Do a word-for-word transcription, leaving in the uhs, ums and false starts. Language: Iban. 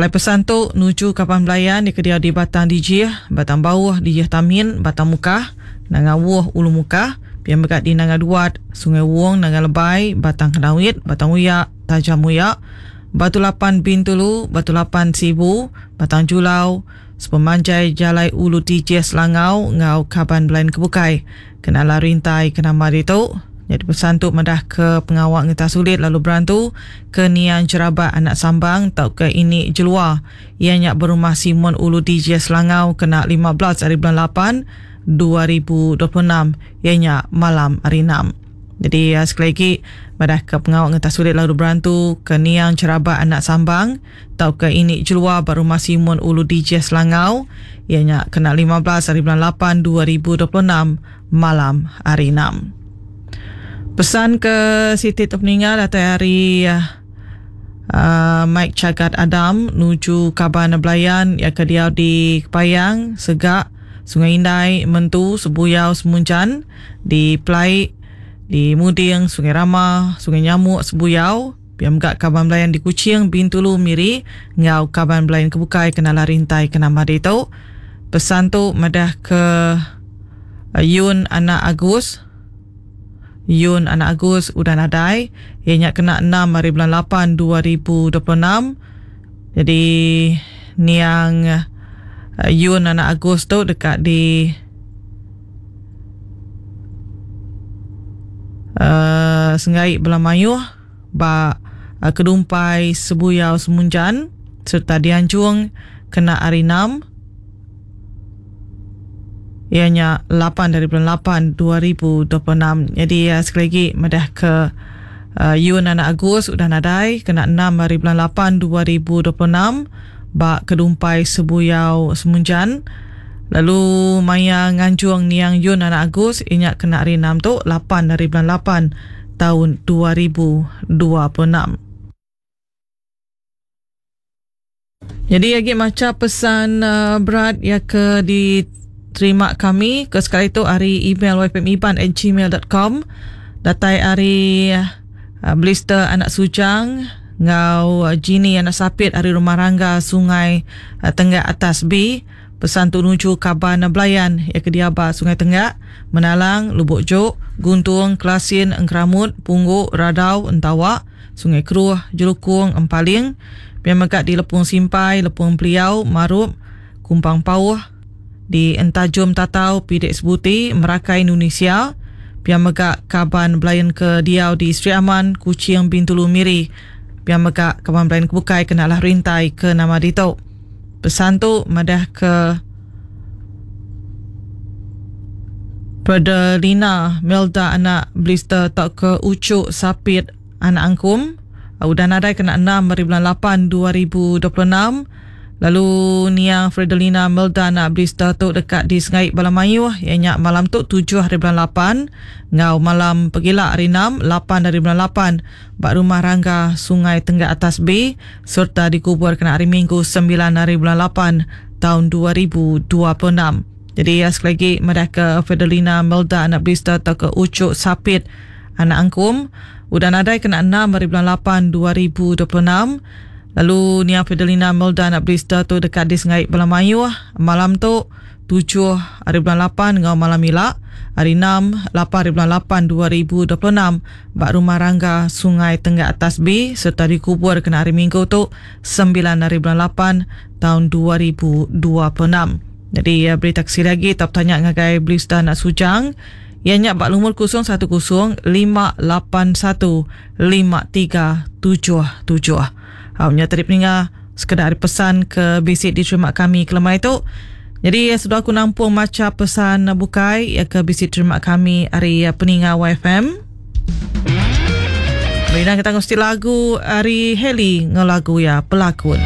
Alai pesan tu nuju kaban belayan di kediau di Batang Dijih, Batang Bauh, Dijih Tamin, Batang Mukah, Nanga Wuh, Ulu Mukah, pia mega di Nanga Duat, Sungai Wong, Nanga Lebai, Batang Kenawit, Batang Uyak, Tajam Uyak, Batu Lapan Bintulu, Batu Lapan Sibu, Batang Julau, sepemanjai Jalai Ulu Dijih Selangau ngau kaban belayan kebukai. Kenala rintai kenama ditu. Jadi pesan tu madah ke pengawak ngeta sulit lalu berantu ke niang Jerabat anak Sambang tau ke ini Jelua. Ia nyak berumah Simon Ulu Dijih Selangau kena lima belas hari bulan lapan dua ribu dua puluh enam. Ia nyak malam hari enam. Jadi sekali lagi madah ke pengawak ngeta sulit lalu berantu ke niang Jerabat anak Sambang tau ke ini Jelua berumah Simon Ulu Dijih Selangau. Ia nyak kena lima belas hari bulan lapan dua ribu dua puluh enam malam hari enam. Pesan ke Siti tu peninggal datang hari uh, Mike Chagat Adam nuju kaban belayan yang ke diau di Kepayang, Segak, Sungai Indai, Mentu, Sebuyau, Semunjan, di Pelai, di Muding, Sungai Rama, Sungai Nyamuk, Sebuyau, piam gak kaban belayan di Kuching, Bintulu, Miri, ngau kaban belayan kebukai kenala rintai kenama ditu. Pesan tu madah ke uh, Yun anak Agus. Yun anak Agus udah nadai. Ia nyak kena enam hari bulan lapan dua ribu dua puluh enam. Jadi niang uh, Yun anak Agus tu dekat di uh, Sengai Belamayuh ba uh, Kedumpai Sebuyau Semunjan serta dianjung kena hari enam. Ianya lapan dari bulan lapan dua ribu dua puluh enam. Jadi uh, sekali lagi madah ke uh, Yun anak Agus udah nadai kena enam hari bulan lapan dua ribu dua puluh enam ba Kedumpai Sebuyau Semunjan. Lalu maya nganjung niang Yun anak Agus ianya kena hari enam tu lapan dari bulan lapan tahun dua ribu dua puluh enam. Jadi lagi maca pesan uh, berat ya ke di terima kami ke sekali itu hari email y p m iban at gmail dot com datai hari uh, Blister anak Sujang ngau uh, Genie anak Sapit hari Rumah Rangga Sungai uh, Tenggak Atas B. Pesan tu nuju kaban belayan ya ke diaba Sungai Tenggak, Menalang, Lubuk Jok, Guntung, Kelasin, Engkeramut, Pungguk, Radau, Entawak, Sungai Keruh, Jelukung, Empaling, biar megak di Lepung Simpai, Lepung Peliau, Marup, Kumpang Pauh, di Entajum Tatau, Pidek Sebuti, Merakai Indonesia, pihak megak kaban belayan ke diau di Sri Aman, Kuching, Bintulu, Miri. Pihak megak kaban belayan ke bukai kenalah rintai ke nama ditu. Pesan tu madah ke Perdelina Melda anak Blister tak ke Ucuk Sapit anak Angkum. Udah nadai kena enam hari bulan lapan dua ribu dua puluh enam. Lalu niang Fredelina Melda anak Blister tu dekat di Sengai Balamayuh. Ia nyak malam tu tujuh hari bulan lapan. Ngau malam pegila hari enam, lapan hari bulan lapan. Bak Rumah Rangga Sungai Tenggak Atas B. Serta dikubur kena hari Minggu sembilan hari bulan lapan tahun dua ribu dua puluh enam. Jadi ya, sekali lagi madah ke Fredelina Melda anak Blister atau ke Ucuk Sapit anak Angkum. Udah nadai kena enam hari bulan lapan dua ribu dua puluh enam. Lalu Nia Fidelina Melda anak Blister tu dekat di Sengai Belamayuh. Malam tu tujuh hari bulan lapan ngau malam ilak. Hari enam, lapan hari bulan lapan dua ribu dua puluh enam bak Rumah Rangga Sungai Tenggak Atas B serta dikubur kena hari Minggu tu sembilan hari bulan lapan tahun dua ribu dua puluh enam. Jadi ya, berita kesih lagi tak tanya ngagai Blister anak Sujang. Ia nyak bak lumur kosong satu kosong lima lapan satu lima tiga tujuh tujuh. Punya tadi peninga sekedar pesan ke bisik diterima kami kelemai tu. Jadi ya, sudah aku nampung maca pesan bukai ya ke bisik terima kami hari peninga Y F M. Bina kita mesti lagu hari Heli ngelagu ya pelakon.